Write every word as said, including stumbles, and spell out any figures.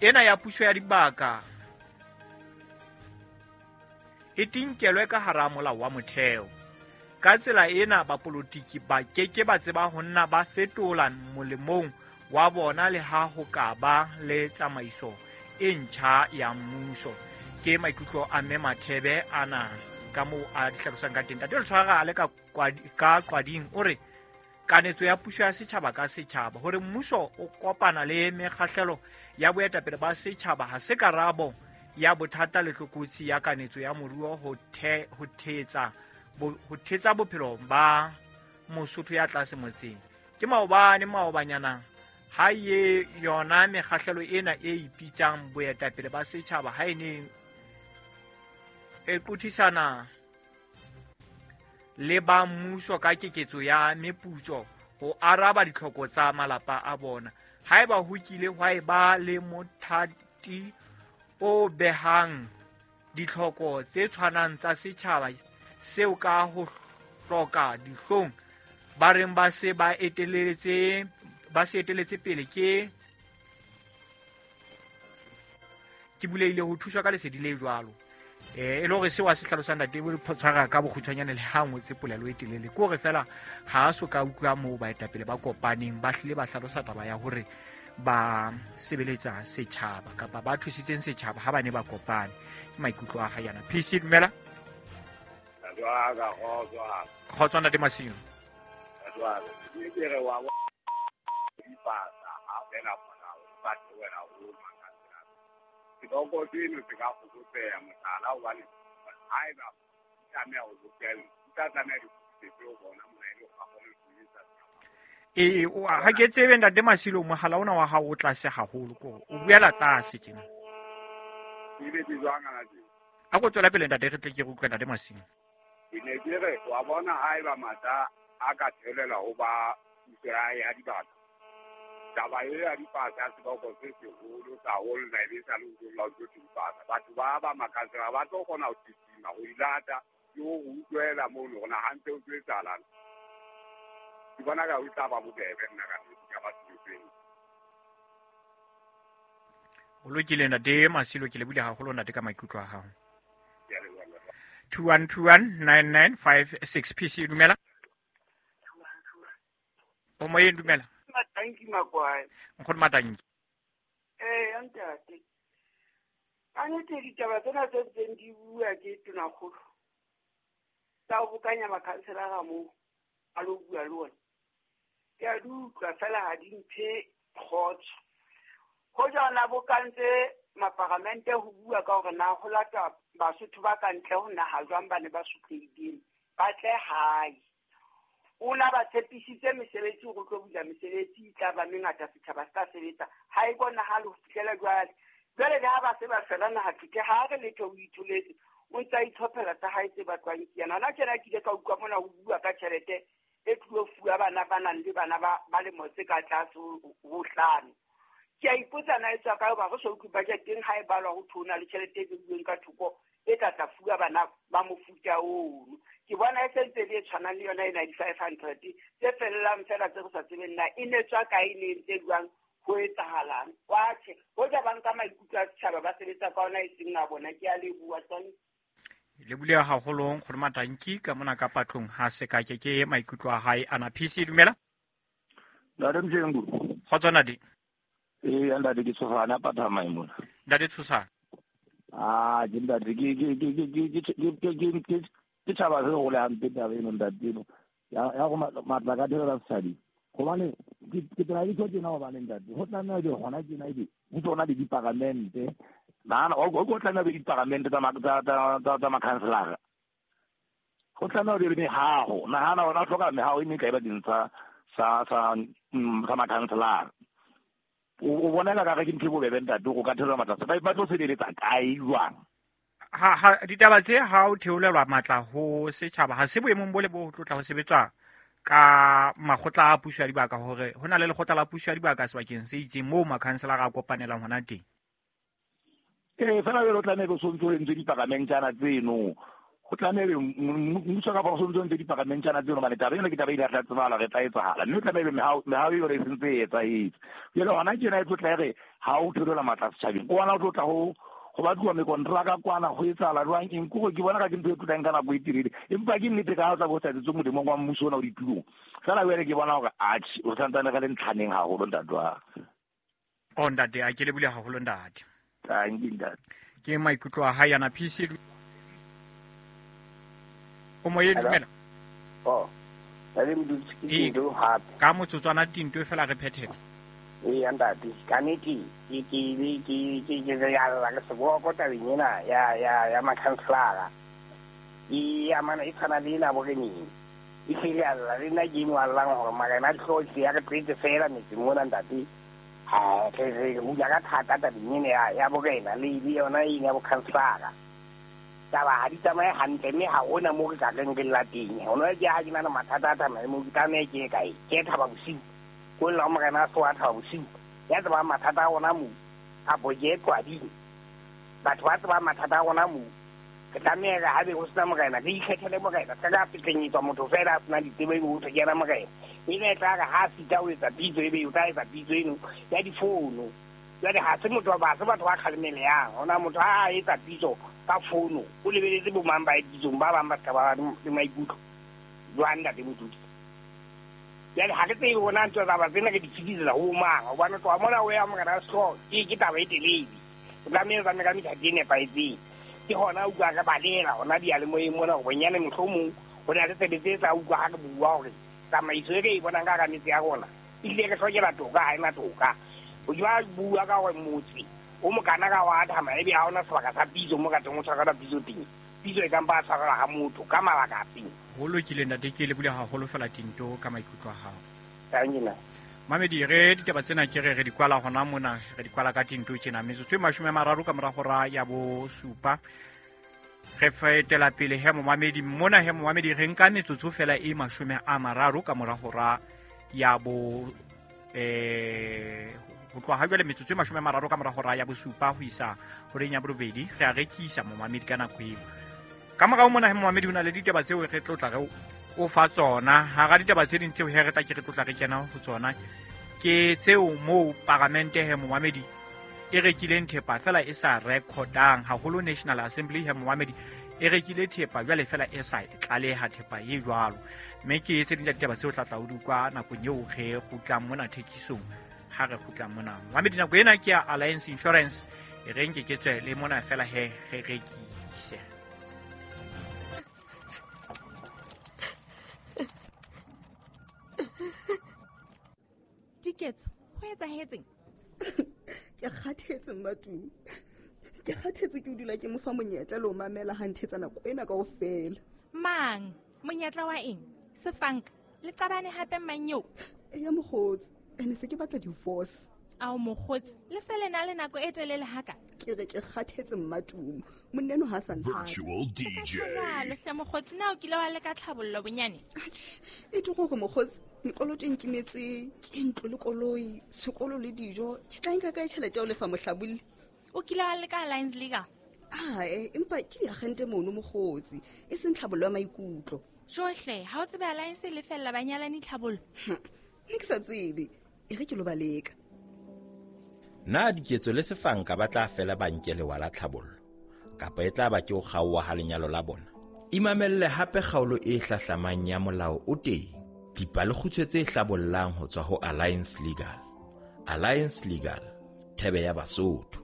Ena ya puso ya dibaka e tinkelwe ka hara molao wa motheo. Ka tsela ena bapolotiki ba keke ba tseba ho nna ba fetola molemong wa bona le ha ho ka ba le tsamaiso e ntjha ya mmuso. Ke maikutlo a Mme Mathebe ana ka moo a hlalosang ka teng. Ntate Letshwara a le ka ka Qwading o re kanetso ya puso ya setjhaba ka setjhaba hore mmuso o kopana le mekgahlelo ya boetapele ba setjhaba ha se karabo ya bothata le tlokotsi ya kanetso ya moruo ho the ho thetsa ho thetsa bophelo ba Mosotho ya tlase motseng. Ke maobane maobanyana ha ye yona mekgahlelo ena e ipitsang boetapele ba setjhaba ha e ne e qothisana le ba mmuso ka keketso ya meputso ho araba ditlhoko tsa malapa a bona. Haeba ho kile hwa eba le mothati o behang ditlhoko tse tshwanang tsa setjhaba seo ka ho hloka dihlong ba reng ba se ba eteletse ba se eteletse pele ke ke buleile ho thuswa ka lesedi le jwalo. Eh e le hore seo a se hlalosang ntate bo tshwara ka bokgutshwanyane le ha ngotse polelo e telele ke hore fela ha a so ka utlwa moo baetapele ba kopaneng ba hlile ba hlalosa taba ya hore ba sebeletsa setjhaba kapa ba thusitseng setjhaba ha ba ne ba kopane. Ke maikutlo a hae yana. P C dumela. Kgotso ntate Masimo. E ha ke tsebe ntate Masilo mohala ona wa hao o tlase haholo ko o buela tlase tjena. A go tswela pele ntate re tle ke re utlwe ntate Masilo. Ke ne ke re wa bona haeba matla a ka thelela ho ba puso ya dibaka. Taba e ya dipasa seboko se seholo sa holla e sa le ho la ho dipasa. Batho ba ba makatsela ba tlo kgona ho titima ho ilata ke ho utlwela mono rona hantle o tswetsalang. Ke bona ka ho tla ba bobebe nna ka ka batho tseng. O lokile ntate Masilo ke le bule haholo ntate ka maikutlo a hao. two one two one nine nine five six P C dumela. O moyeng dumela. Matanki Makwae. Nkgono Matanki. Eh ntate. Ka nnete ditaba tsena tse ntseng di bua ke tonakgolo. Tsa ho bokanya makhanselara moo a lo bua le ona. Ke a di utlwa fela ha di mphe kgotso. Hoja ona bokantse maparamente ho bua ka hore na ho lata Basotho ba ka ntle ho naha jwang ba ne ba sotlehileng ba tle hae. O na ba tshepisitse mesebetsi hore o tlo bula mesebetsi e tla ba mengata setjhaba se tla sebetsa. Ha e bonahale ho fihlela jwale. Jwale le ha ba se ba fela naha thute ha re letho o itholetse o ntsa itlhophela tsa hae tse batlwang ke yena. Hona tjena ke ile ka utlwa mona ho bua ka tjhelete e tlo fuwa bana ba nang le bana ba ba lemo tse ka tlase ho hlano. Ke a ipotsa na e tswa kae hoba re so utlwe budget-eng ha e balwa ho thona le tjhelete e beilweng ka thoko e tla tla fuwa bana ba mofuta ono. Ke bona e sentse le e tshwanang le yona ena di-five hundred tse fellang fela tse re sa tsebeng na e ne tswa kae, e ne ntse jwang, ho etsahalang. Wa tjhe, hoja ba nka maikutlo a setjhaba ba sebetsa ka ona e seng a bona. Ke a leboha tsane. Le buleha haholo Nkgono Matanki ka mona ka patlong ha se ka ke ke maikutlo a hae ana. P C dumela. Ntate Mjengu. Kgotso ntate. Eh ntate ke Tshosana Pathama mona. Ntate Tshosana. Ah ke ntate ke ke ke ke ke ke ke ke tshaba se go le hampe taba eno ntate eno. Ya ya go matla ka dira setjhaba. Hobane ke ke tla di tjena hobane ntate ho tlameha di hona tjena ebe ho tsona di diparamente. Nana o go tlameha be diparamente tsa tsa tsa tsa makhanselara. Ho tlameha di le mehaho. Nahana ona hloka mehaho e mekae bakeng tsa sa sa sa makhanselara. O bona ka re ke ntho e bobebe ntate go ka theolelwa matla ba ba tlo sebeletsa kae jwang? Ha ha ditaba tse ha o theolelwa matla ho setjhaba ha se boemong bo le bo tlotla ho sebetswa ka makgotla a puso ya dibaka hore ho na le lekgotla la puso ya dibaka sebakeng se itseng moo makhanselara a kopanelang hona teng. Eh fela jwale o tlameha o sontso o entse diparamente tsana tseno Go tlamehile mmuso ka go ntse di pagamentjana tseno mane taba ena ke taba e tla tsebala re tla etsahala mme tlamehile mehao mehao e re sentse e etsahetse. Jwale hona tjena e tlo tla re ha o theolela matla setjhabeng o ona o tlo tla ho go batluwa mekontraka kwana go etsahala jwang eng kore ke bona ka ke ntho e tlotlang ka nako e telele empa ke nnete ka ha o tla bo sa etsetse molemong wa mmuso ona o ditulong fela jwale ke bona hore atjhe o santsane re le ntlhaneng haholo ntate wa o ntate a ke lebile haholo ntate. Thank you ntate. Ke maikutlo a hae yana P C o moyeng dumela. Oh le modutsi ke Tinto hape ka motsotswana Tinto fela re phethela. Ee ntate ka nnete ke ke ke ke ke ya la ke seboko tabeng ena ya ya ya makhanselara e amana e tshwana le ena boreneng e hlile a lla le nna ke eno a llang hore marena a dihlooho ya re qete fela metseng mona ntate. Ha re re hula ka thata tabeng ena ya ya borena le le yona ena ya bokhanselara. Taba ha di tsamaye hantle mme ha hona moo re ka reng re lla teng. Hona ke ha ke na le mathata a tsamaya moo ke tlameha ke ye kae? Ke ye Thaba Bosiu. Ko lla morena a so a Thaba Bosiu. Ya tsebang mathata a rona moo kapo ke ye Qwading. Batho ba tsebang mathata a rona moo re tlameha re ha be ho sena morena re ikgethele morena. Se ka fetlenyetswa motho fela a sena ditsebo ebe ho thwe ke yena morena. Ene e tla re ha a sita ho etsa pitso ebe o tla etsa pitso eno ya difono. Jwale ha se motho ba se batho ba kgalemelehang. Hona motho ha a etsa pitso ka fono o lebeletse bo mang ba e pitsong ba bang ba ska ba le maikutlo jwang ntate Modudi. Jwale ha re tsebe hona ntho tsa ba tsena re di fetisetsa ho mang hobane tloha mona o ya morena wa sehlooho ke ke taba e telele. O tlameha o tsamaye ka methati e nepahetseng. Ke hona utlwa re balela hona diyalemoyeng mona hore bonyane mohlomong ho na le sebetsi e tla utlwa ha re bua hore tsamaiso e re e bonang ka hara metse ya rona ehlile re hlokela toka ha ena toka. O jwa bua ka hore motse o mokana ka wa thama ebe ha ona sebaka sa pitso mo ka teng o tshwarela pitso teng. Pitso e ka mpa tshwarela ha motho ka mabaka a teng. Ho lokile ntate ke lebile haholo fela Tinto ka maikutlo a hao. Thank you. Mamedi re ditaba tsena ke re re di kwala hona mona re di kwala ka Tinto tjena metsotso e mashome a mararo ka mora hora ya bosupa. Re fetela pele he momamedi mona he momamedi re nka metsotso fela e mashome a mararo ka mora hora ya bo eh ho tloha jwale metsotso e mashome a mararo ka mora hora ya bosupa ho isa horeng ya borobedi re a rekisa momamedi ka nako eo. Ka morao mona he momamedi ho na le ditaba tseo re tlotla re o fa tsona hara ditaba tse ding tseo he re tla ke re tlotla re kena ho tsona ke tseo moo paramente he momamedi e rekileng thepa fela e sa recordang haholo National Assembly he momamedi e rekile thepa jwale fela e sa tlaleha thepa e jwalo mme ke tse ding tsa ditaba tseo tla tla o di utlwa nakong eo re kgutlang mona thekisong ha re kgutla mona. Mamedi nako ena ke ya Alliance Insurance e re nke ke tswe le mona fela he re rekise. Diketso ho etsahetseng? Ke kgathetse Mmatumi. Ke kgathetse ke o dula ke mo fa monyetla le ho mamela ha nthetsa nako ena kaofela. Mang? Monyetla wa eng? Sefanka le qabane hape mang eo? Eya mokgotsi ene se ke batla divorce. Ao mokgotsi le se le na le nako e telele haka. Ke re ke kgathetse Mmatumi. Monneno ha sa nthata. Virtual D J. Jwalo hle mokgotsi na o kile wa leka tlhabollo bonyane? Atjhe, e tlo gore mokgotsi mekoloto e nkimetse ke ntlo le koloi, sekolo le dijo. Ke tla nka kae tjhelete ya ho lefa mohlabolli? O kile wa leka Alliance Legal? Ae, empa ke diagente mono mokgotsi, e seng tlhabollo ya maikutlo. Johle, ha o tsebe Alliance e lefella banyalani tlhabollo? Nne ke sa tsebe. E re ke lo baleka. Na Diketso le Sefanka ba tla fela ba nke lewa la tlhabollo kapa e tla ba ke ho kgaoha ha lenyalo la bona? Imamelle hape kgaolo e hlahlamang ya Molao o Teng, dipalekgutshwe tse hlabollang ho tswa ho Alliance Legal. Alliance Legal, thebe ya Basotho.